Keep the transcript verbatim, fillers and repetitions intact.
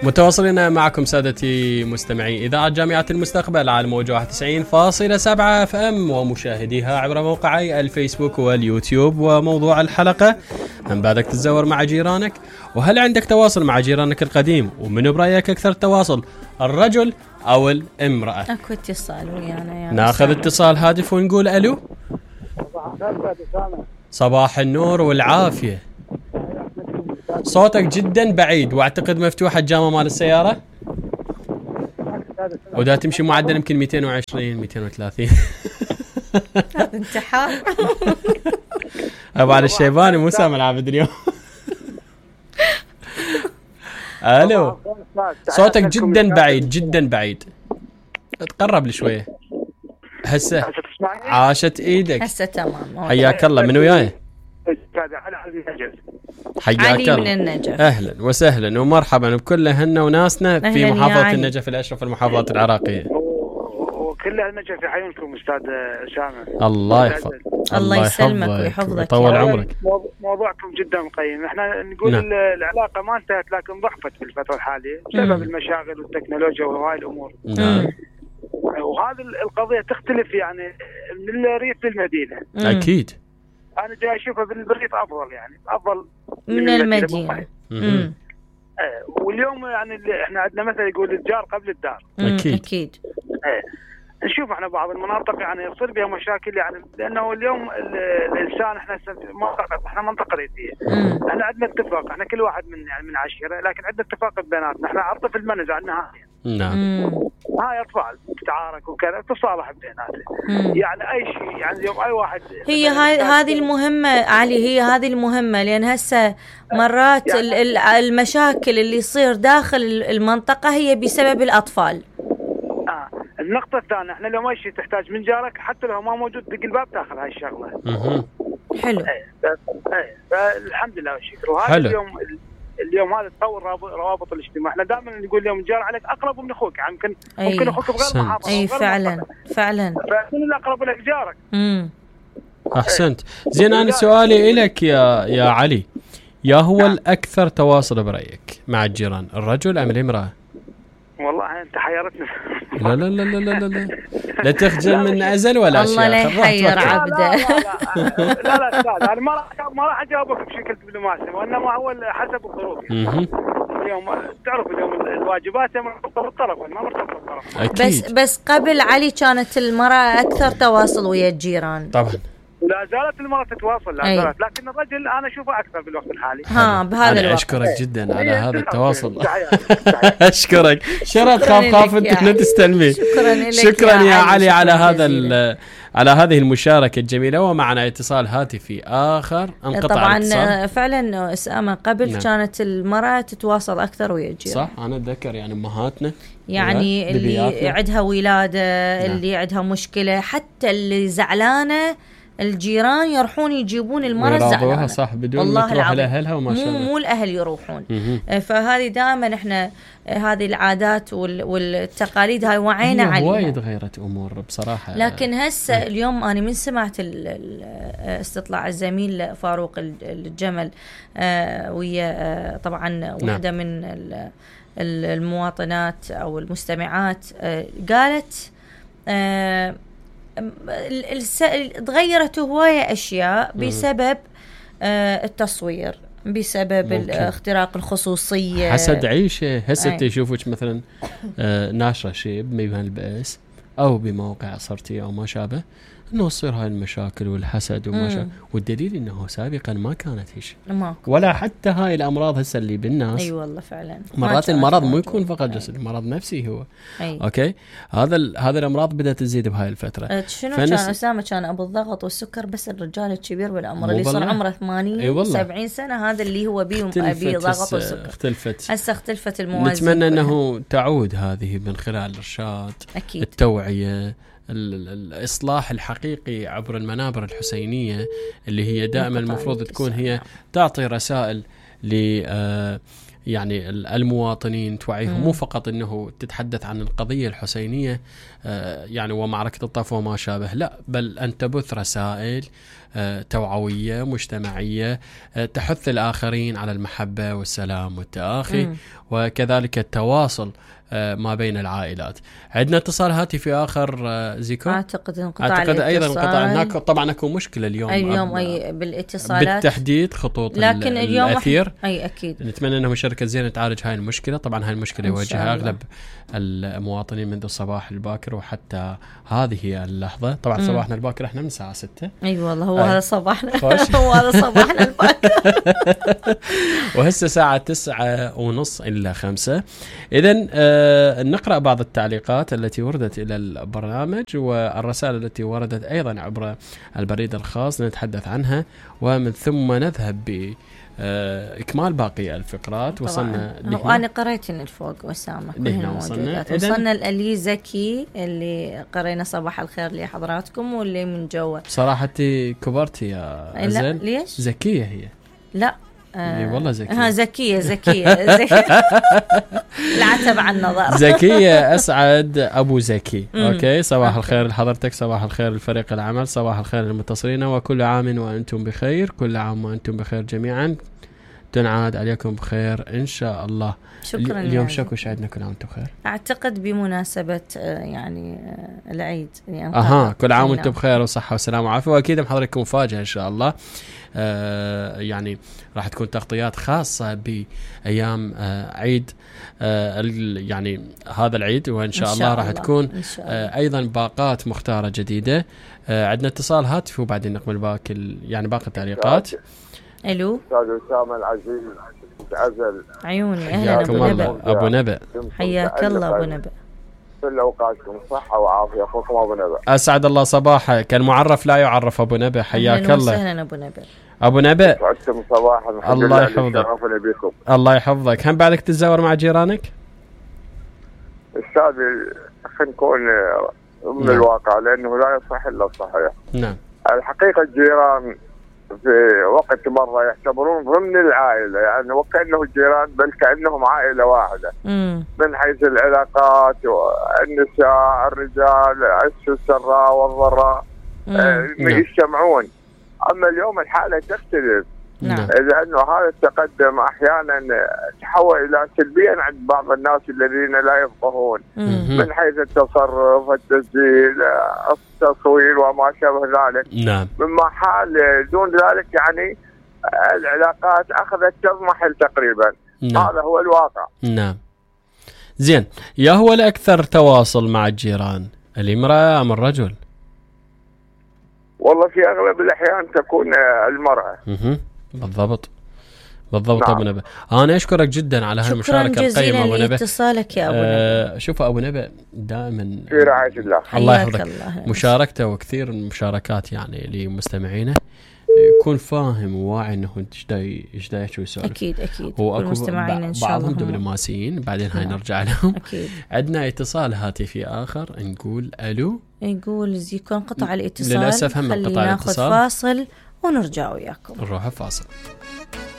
متواصلين معكم سادتي مستمعي إذاعة جامعة المستقبل على موجة واحد وتسعين فاصلة سبعة اف ام ومشاهديها عبر موقعي الفيسبوك واليوتيوب. وموضوع الحلقة: من بعدك تتزور مع جيرانك؟ وهل عندك تواصل مع جيرانك القديم؟ ومن برأيك أكثر تواصل، الرجل أو الامرأة؟ أكو اتصال ويانا. ناخذ اتصال هاتف ونقول ألو. صباح النور والعافية. صوتك جدا بعيد واعتقد مفتوحة الجامعة مال السيارة، ودا تمشي معدل يمكن مئتين وعشرين مئتين وثلاثين. هذا انتحار. ابو علي الشيباني مو سامع العابد اليوم. الو، صوتك جدا بعيد جدا بعيد، تقرب لي شويه. هسه عاشت ايدك. هسه تمام. حياك الله. من وياي؟ حياك علي الله. من النجف. اهلا وسهلا ومرحبا بكل اهلنا وناسنا في محافظه النجف الاشرف المحافظات العراقيه. وكل النجف يحيونكم استاذ اسامه. الله يحفظك. الله يسلمك ويحفظك ويطول عمرك. موضوعكم جدا قيم. احنا نقول نعم. العلاقه ما انتهت لكن ضعفت في الفتره الحاليه بسبب المشاغل والتكنولوجيا وهاي الامور. نعم. وهذه القضيه تختلف يعني من الريف للمدينه. اكيد. انا جاي اشوفها بالريف افضل، يعني افضل من, من المدينه. امم اه واليوم يعني احنا عندنا مثل يقول الجار قبل الدار. اكيد اكيد. اه نشوف احنا بعض المناطق يعني يصير بها مشاكل، يعني لانه اليوم الانسان احنا منطقه احنا منطقه ريفيه. احنا عندنا اتفاق، احنا كل واحد من يعني من عشيره، لكن عندنا اتفاق بيناتنا. احنا على الطفل ما نزعل نهائيا. نعم. هاي اطفال تتعارك وكذا تصالح بيناتنا. يعني اي شيء يعني اليوم اي واحد هي هاي هذه المهمه علي، هي هذه المهمه، لان هسه مرات يعني المشاكل اللي يصير داخل المنطقه هي بسبب الاطفال. اه النقطه الثانيه، احنا لو ماشي تحتاج من جارك حتى لو ما موجود دق الباب تاخذ هاي الشغله. اها حلو. ايه فالحمد لله والشكر. وهذا اليوم اليوم هذا تطور روابط الاجتماع. احنا دائما نقول اليوم الجار عليك اقرب من اخوك، يعني ممكن أي. ممكن اخوك بغير محافظه. اي فعلا فعلا. فمن الاقرب لك جارك. امم احسنت. زين، انا سؤالي لك يا يا علي، يا هو نعم. الاكثر تواصل برايك مع الجيران، الرجل ام الامراه؟ والله انت حيرتنا. لا لا لا لا لا لا لا تخجل من ازل ولا اشياء. الله لا يحير عبده. لا لا استاذ، انا ما راح ما راح اجاوبك بشكل دبلوماسي، وانما هو حسب الظروف. اليوم تعرف اليوم الواجبات مرتبطه بالطرف، ما مرتبطه بالطرف. بس بس قبل علي كانت المراه اكثر تواصل ويا الجيران. طبعا. ولا زالت المرأة تتواصل، لا زالت، لكن الرجل أنا أشوفه أكثر بالوقت الحالي. ها بهذا الوقت. أشكرك جدا على هذا التواصل. أشكرك. شرط خاف خاف أنت تستلمي. شكرا, شكرا يا علي على هذا على هذه المشاركة الجميلة. ومعنا اتصال هاتفي آخر انقطع طبعا الاتصال. فعلا أسامة قبل نعم. كانت المرأة تتواصل أكثر ويا الجيران. صح، أنا أتذكر يعني أمهاتنا يعني اللي عندها ولادة نعم. اللي عندها مشكلة، حتى اللي زعلانة الجيران يروحون يجيبون المرأة الزعلانة. صح، بدون ما تروح لأهلها وما شاء الله. مو مو الأهل يروحون. فهذه دائما احنا هذه العادات والتقاليد هاي وعينا عليها. وايد غيرت أمور بصراحة. لكن هسه اليوم أنا من سمعت استطلاع الزميل فاروق الجمل ويا طبعا واحدة من المواطنات أو المستمعات قالت تغيرت هواية أشياء بسبب التصوير، بسبب اختراق الخصوصية، حسد عيشة. هسه تشوفك مثلا ناشرة شيء بميزان البأس أو بموقع صرتي أو ما شابه، انه تصير هاي المشاكل والحسد وما شابه. والدليل انه سابقا ما كانت هيك ولا حتى هاي الامراض هسه اللي بالناس. اي أيوة والله فعلا. مرات المرض مو يكون فقط جسدي، مرض نفسي هو. أي. اوكي، هذا هذا الامراض بدات تزيد بهاي الفتره. شنو فنس... كان اسامه كان ابو الضغط والسكر، بس الرجال الكبير بالعمر اللي صار عمره ثمانين سبعين سنه هذا اللي هو بيه بيه ضغط والسكر. اختلفت هسه اختلفت الموازين. نتمنى انه تعود هذه من خلال الارشاد، أكيد. التوعيه، الإصلاح الحقيقي عبر المنابر الحسينية اللي هي دائما المفروض تكون هي تعطي رسائل يعني المواطنين، توعيهم مو فقط أنه تتحدث عن القضية الحسينية يعني ومعركة الطف وما شابه، لا بل أن تبث رسائل توعوية مجتمعية تحث الآخرين على المحبة والسلام والتآخي م. وكذلك التواصل ما بين العائلات. عندنا اتصال هاتفي آخر زيكو. أعتقد انقطاع أعتقد أيضا انقطاع. هناك طبعا أكو مشكلة اليوم اليوم أي بالاتصالات بالتحديد خطوط لكن اليوم الأثير. أي أكيد نتمنى أنه شركة زين تعالج هاي المشكلة. طبعا هاي المشكلة يواجهها أغلب المواطنين منذ الصباح الباكر وحتى هذه اللحظة. طبعا م. صباحنا الباكر احنا من الساعة ستة. أي والله هو هذا صباحنا هو هذا صباحنا الباكر وهسه ساعة تسعة ونص إلا خمسة. إذن آه نقرأ بعض التعليقات التي وردت إلى البرنامج والرسائل التي وردت أيضا عبر البريد الخاص نتحدث عنها، ومن ثم نذهب ب إكمال باقي الفقرات. وصلنا وأنا قريت الفوق وسامة كلها وصلنا وصلنا الألي زكي اللي قرينا صباح الخير لحضراتكم واللي من جوا. صراحة كبرتي يا أزل. ليش؟ زكية هي. لا آه والله زكية. ها زكية زكية, زكية. العتب عن النظر. زكية أسعد أبو زكي. أوكي صباح الخير لحضرتك، صباح الخير لفريق العمل، صباح الخير للمتصلين، وكل عام وأنتم بخير. كل عام وأنتم بخير جميعا، تنعاد عليكم بخير إن شاء الله. شكرا. اليوم شكو شعدنا كل عام وأنتم بخير. أعتقد بمناسبة يعني العيد يعني أها كل عام وأنتم بخير وصحة وسلام وعافية. وأكيد محضركم مفاجأة إن شاء الله. آه يعني راح تكون تغطيات خاصة بأيام آه عيد آه يعني هذا العيد، وإن شاء, إن شاء الله راح تكون آه أيضا باقات مختارة جديدة. آه عندنا اتصال هاتفي وبعدين نكمل باقي يعني باقي التعليقات. الو استاذ اسامه العزيز عزل عيوني. اهلا ابو نبأ. ابو نبأ حياك الله ابو نبأ. كل اوقاتكم صحه وعافيه. اخوكم ابو نبأ. اسعد الله صباحك. المعرف لا يعرف ابو نبأ. حياك الله. اهلا ابو نبأ. ابو نبأ سعدتم صباحا. الله يحفظك. الله يحفظك. هم بعدك تتزاور مع جيرانك؟ استاذ خلينا نكون من نعم. الواقع لانه لا يصح الا الصحيح. نعم. الحقيقه الجيران في وقت مرة يعتبرون ضمن العائلة، يعني وكأنه الجيران بل كأنهم عائلة واحدة. مم. من حيث العلاقات والنساء الرجال السراء والضراء آه يجتمعون. أما اليوم الحالة تختلف. نعم. لأنه هذا التقدم أحيانا تحول إلى سلبيا عند بعض الناس الذين لا يفقهون من حيث التصرف التسجيل التصوير وما شابه ذلك. نعم. مما حال دون ذلك يعني العلاقات أخذت تضمحل تقريبا. نعم. هذا هو الواقع. نعم. زين، يا هو الأكثر تواصل مع الجيران الامرأة أم الرجل؟ والله في أغلب الأحيان تكون المرأة. اها بالضبط بالضبط. نعم. أبو نبأ أنا أشكرك جدا على هالمشاركة القيمة أبو نبأ. اتصالك يا أبو آه نبأ. شوف أبو نبأ دائما في رعاية الله. الله يحفظك. مشاركته وكثير من المشاركات يعني لمستمعينه يكون فاهم وواعي انه ايش دا ايش دا يسولف. اكيد اكيد. ومستمعين ان شاء الله بعضهم دبلوماسيين بعدين هاي نرجع لهم. اكيد. عندنا اتصال هاتفي اخر نقول الو. نقول زيكو انقطع الاتصال. للاسف هم انقطع الاتصال. خلينا ناخذ فاصل ونرجع وياكم. نروح فاصل.